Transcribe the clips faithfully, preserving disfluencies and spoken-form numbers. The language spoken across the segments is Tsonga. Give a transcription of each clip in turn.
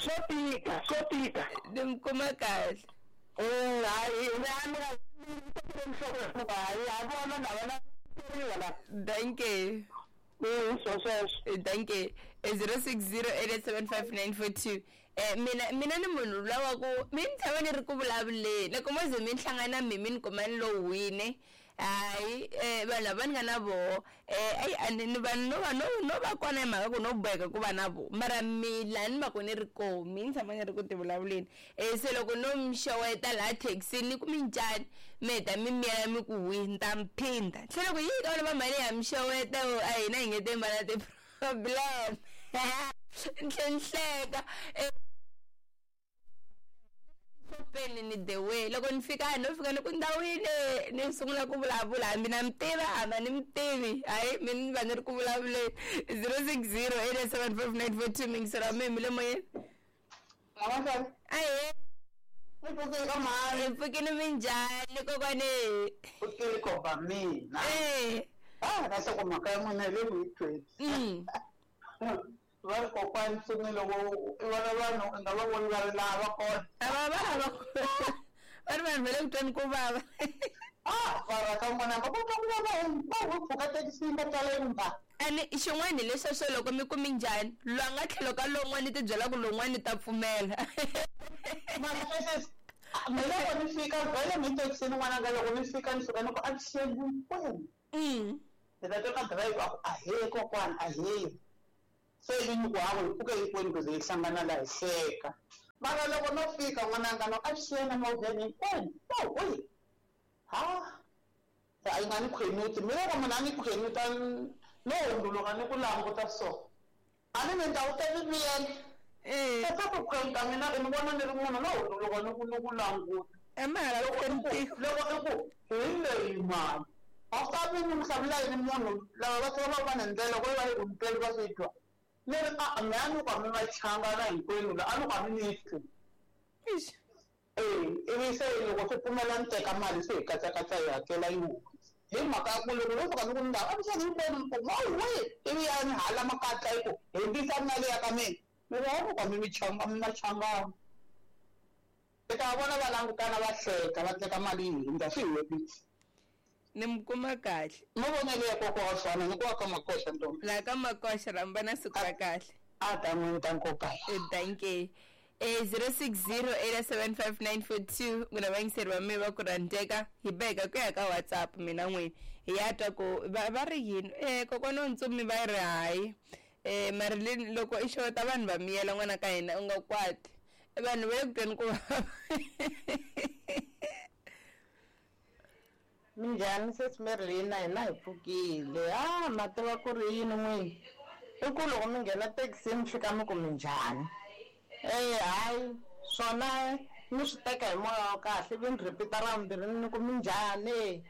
Swo tika, swo tika. Ni mi kuma kahle. Eh, hayi, ni a ni Thank you. Mm, so sweswo. Thank you. zero six zero eight seven five nine four two. Eh mina mina ni munhu lawa ku mi ni tshama ni ri ku vulavuleni loko mo ze mi ni hlangana mi mi ni kuma ni lo wine hayi eh vanhu lava ni nga na voho eh ayi a ni ni vanhu no va no no va kona hi mhaka ku no boheka ku va na voho mara mi laha ni va ku ni ri koho mi ni tshama ni ri ku ti vulavuleni eh se loko no mi xeweta laha thekisini ni ku mi njhani mi heta mi miyela mi ku wi ni ta mi phinda se loko yi ka vona va mhani ya mi xeweta a hina hi nge te va na ti-problem ni tlhe ni hleka eh xopeni ni the way loko ni fika no fika ni ku ndhawini ni sungula ku vulavula hambi na mi tiva hamba ni mi tivi hayi mi ni va ni ri ku vulavuleni zero six zero eight seven five nine four two mingisela mi mi le moyeni ahe Mi pfukile ka mhani. hi pfukile minjhani kokwani Pfukile kopa mina. eh Ah, na se ku mhaka ya n'wina hi le ku yi tweni. mm Va ri kokwani ntsumi loko i vona vanhu i nga va voni va ri laha va kona. a va va va va ri vanhu va le ku tweni ku vava Ah, va ka n'wina va kota ku va va va va pfuka thekisini va tala yimba. ene xin'wana hi lesweswo loko mi ku minjhani loyi a nga tlhelo ka lowun'wana ti byela ku lowun'wana ta pfumela Mara sweswi mina loko ni fika vhele mi thekisini n'wananga loko ni fika ni fika ni ku avuxeni hinkwenu. mm Ni ta twa ka driver a ku ahee kokwana ahee. Se ivi ni ku hawa hi pfuke hinkwenu ku ze hi hlangana laha hi hleka. Mara loko no fika n'wananga no avuxeni movheni hinkwenu oh ha se a yi nga ni khwenuti mina loko munhu a ni khwenuta no hundzuluka ni ku languta so a ni ni ta wu ta mi miyela eh se swa ku khwenuta mina i ni vona ni ri munhu no hundzuluka ni ku ni ku languta a ma ha loko i ku khwenutiwa loko i ku hi leyi mali a swi ta vi ni hlamula yini munhu lava va tlhela va va ni ndlela ku va yi ku ntweli va swi twa ni ri a me a ni ku a mi va changana hinkwenu la a ni ku a mi ni twi Eish. eh ivi se loko swi pfumela ni teka mali se hi katsakatsa hi hakela yi huma hi mhaka ya ku loko no fika ni ku ndhawu a mi hinkwenu mi ku we ivi ya ni hala makatla yi ku hundzisa mali ya ka mina ni ri a ni ku a mi mi changa mi machangana i ta vona va langutana va hleka va teka mali yi hundza swi herile ni mi kuma kahle mavonelo ya kokwa wa fana ni ku wa ka makoxa ntombi laha ka makoxa rhamba na siku ra kahle a ta n'wini ta nkoka Eh, thank you eh zero six zero eight seven five nine four two n'wina vayingiseri va mina va ku rhandzeka hi beka ku ya ka WhatsApp mina n'wini hi ya twa ku va va ri yini eh kokwana wa ntsumi va ri hayi eh Marilyn loko i xeweta vanhu va miyela n'wana ka hina u nga kwati vanhu va le ku tweni ku vava Minjhani sesi Marilyn na hina hi pfukile ah ma tiva ku ri yini n'wini i ku loko mi nghena thekisini mi fika mi ku minjhani eh hayi swona ni swi teka hi moya wa kahle ivi ni repeat-a ra vumbirhi ni ku minjhani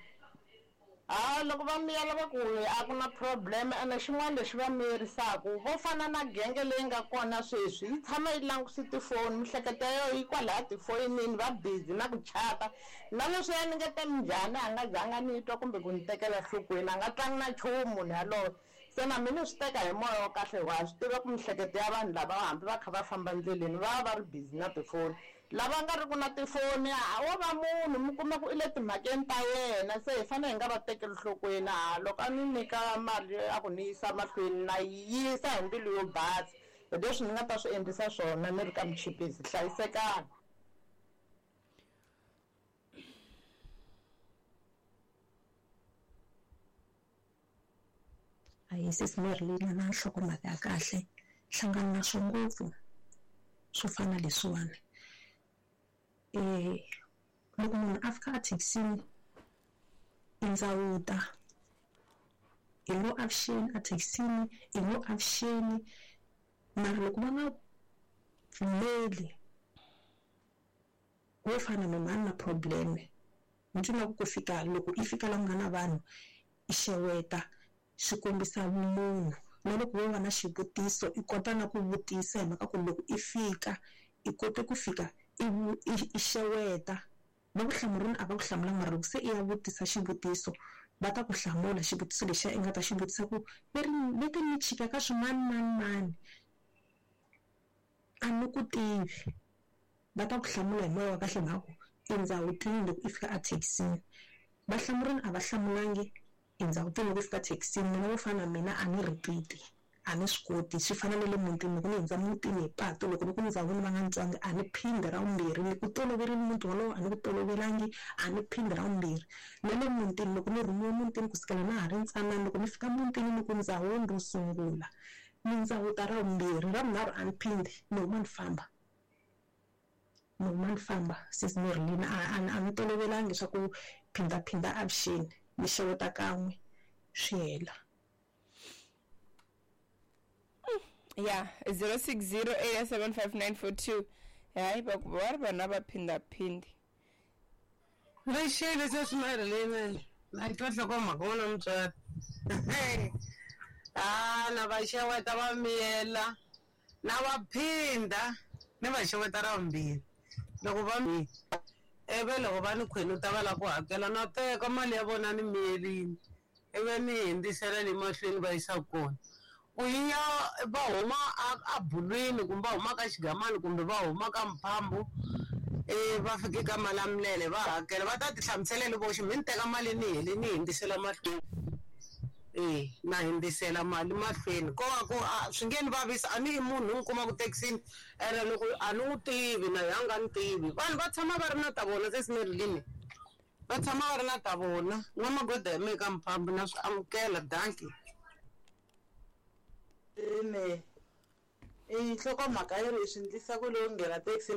ha loko va miyela va ku a ku na problem ene xin'wana lexi va miyerisaka vo fana na genge leyi nga kona sweswi yi tshama yi langutise tifoni mihleketo ya yona yi kwalaya tifonini va busy na ku chata na leswi ya ni nge te minjhani a nga zanga ni twa kumbe ku ni tekela nhlokweni a nga tlangi na nchumu munhu yaloye se na mina ni swi teka hi moya wa kahle hikuva ha swi tiva ku mihleketo ya vanhu lava hambi va kha va famba ndleleni va va va ri busy na tifoni lava nga ri ku na tifoni a wo va munhu mi kuma ku i le timhakeni ta yena se hi fanele hi nga va tekeli nhlokweni ha loko a ni nyika mali a ku ni yisa mahlweni na yi yisa hi mbilu yo basa hi leswi ni nga ta swi endlisa swona ni ri ka muchipisi hlayisekani. Ahi sesi Marilyn na nhlokomhaka ya kahle hlangana na swo ngopfu swo fana leswiwani eh loko munhu a fika a thekisini i ndzawuta hi ngo avuxeni a thekisini hi ngo avuxeni mara loko va nga pfumeli wo fana na mhani na problem ni twi na ku fika loko i fika la ku nga na vanhu i xeweta swi kombisa vumunhu na loko wo va na xivutiso i kota na ku vutisa hi mhaka ku loko i fika i kote ku fika i i xeweta va ku hlamurini a va ku hlamula mara loko se i ya vutisa xivutiso va ta ku hlamula xivutiso lexiya i nga ta xi vutisa ku leri leti ni chika ka swimani mani mani A ni ku tivi. Va ta ku hlamula hi moya wa kahle mhaka ku i ndzawutini loko i fika a thekisini. Va hlamurini a va hlamulangi i ndzawutini loko i fika thekisini. Mina vo fana na mina a ni repeat-i, a ni swi koti. Swi fana na le mutini loko ni hundza mutini hi patu loko ni ku ndzawini va nga ni twangi a ni phindi ra vumbirhi, ni ku toloverile muti wolowo a ni ku tolovelangi a ni phindi ra vumbirhi. Na le mutini loko ni rhumiwe mutini kusukela na ha ri ntsanana loko ni fika mutini ni ku ndzawini ro sungula ni ndzawuta ra vumbirhi, ra vunharhu a ni phindi ni huma ni famba. Ni huma ni famba sis Merlina a a ni tolovelangi swa ku phindaphinda avuxeni ni xeweta kan'we swi hela. Ya zero six zero eight seven five nine four two. Hayi va ku va ri vanhu a va phindhaphindi. Lexi leswi Merlina na twa nhlokomhaka wona mutswari. A na va xeweta va miyela na va phinda ni va xeweta ra vumbirhi. Loko va mi ivi loko va ni khwenuta va lava ku hakela na teka mali ya vona ni miyerini ivi ni hundzisela le mahlweni va yisa kona. Ku ya va huma a bulwini kumbe va huma ka xigamani kumbe va huma ka mphambu eh va fike ka Malamulele va hakela va ta ti hlamusela voxe mi ni teka mali ni hele ni hundzisela mahlweni. Eh na hundzisela mali mahlweni ko va ku swi nge ni vavisa a ni i munhu ni kuma ku thekisini ene loko a ni n'wi tivi na yena a nga ni tivi. Vanhu va tshama va ri na ta vona sesi Merlin, va tshama va ri na ta vona. N'wamagoda hi mehe ka mphambu na swi amukela dankie. Ine i nhlokomhaka yi ri swi endlisa ku lowu nghena taxi.